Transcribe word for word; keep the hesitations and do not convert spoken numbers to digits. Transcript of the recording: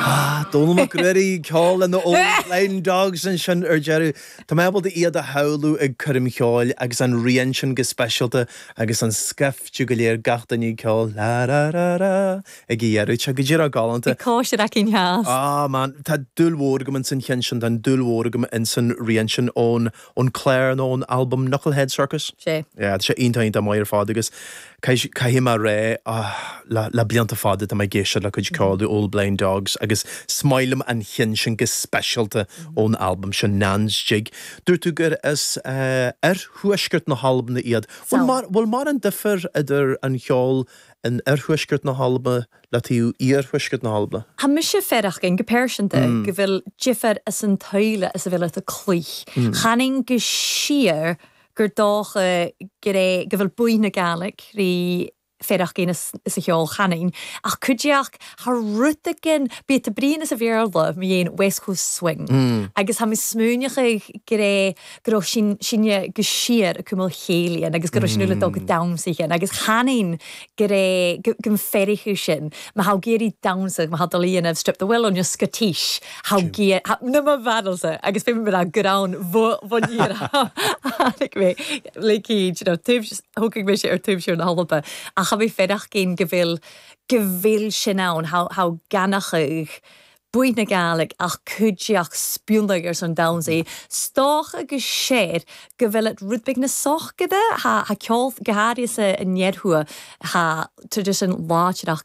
Dónall Mac Ruairí ceol na Old Blind Dogs ansin ar deireadh. Tá mé ábalta iad a shamhlú ag coirm cheoil agus an rian sin go speisialta agus an scaifte go léir gach duine ceol la ra ra ra ag deireadh sé go díreach galánta. Cóisir cinn theas. Ah man, tá dúil mhór agam insan cheann sin tá dúil mhór agam insan rian sin ón ón clár nó ón album Knucklehead Circus. Sé. Yeah, sé iontach iontach maith ar fad agus caithfidh mé rá le le blianta fada tá mé ag éisteacht le cuid ceoil the Old Blind Dogs agus is maith liom an ceann sin go speisialta ón albam sin Nan's Jig. Dúirt tú gur as uh, oirthuaisceart na hAlban iad. Bhfuil mar an difear idir an cheol in oirthuaisceart na hAlban le taobh iarthuaisceart na hAlban? Tá mise feireachcin go pearsanta go bhfuil difear as an taoile as a bhfuil a cloich. Chaning go siar gur dócha go go bhfuil buí na Gàidhlig rí féireachcin is a cheol chaning ach cuideach thar rutagin bí a bríon is a bhéarla mé dhéon West Coast Swing. Mm. Agus tá mé smaoineachadh go go raibh sin sinne go siar a cumul chéilian agus go raibh sin le dul go damhsa agus chaning go go féirichu sin ma ha géirí damhsa ma ha líanamh Strip the Willow nó Scottish ha na ma bhadalsa agus fé me go ann mé le thugfaidh mé sé ar tuimsir na hAlba ach cha bhí féireach go bhfuil go bhfuil sin ann há ganachadh buí na Gàidhlig ach cuideach spiúnach ar son damhsaí. Stoch agus séir go bhfuil rud beag na sochgada ha ceol go háirithe sa an iarthua ha tradition láidirach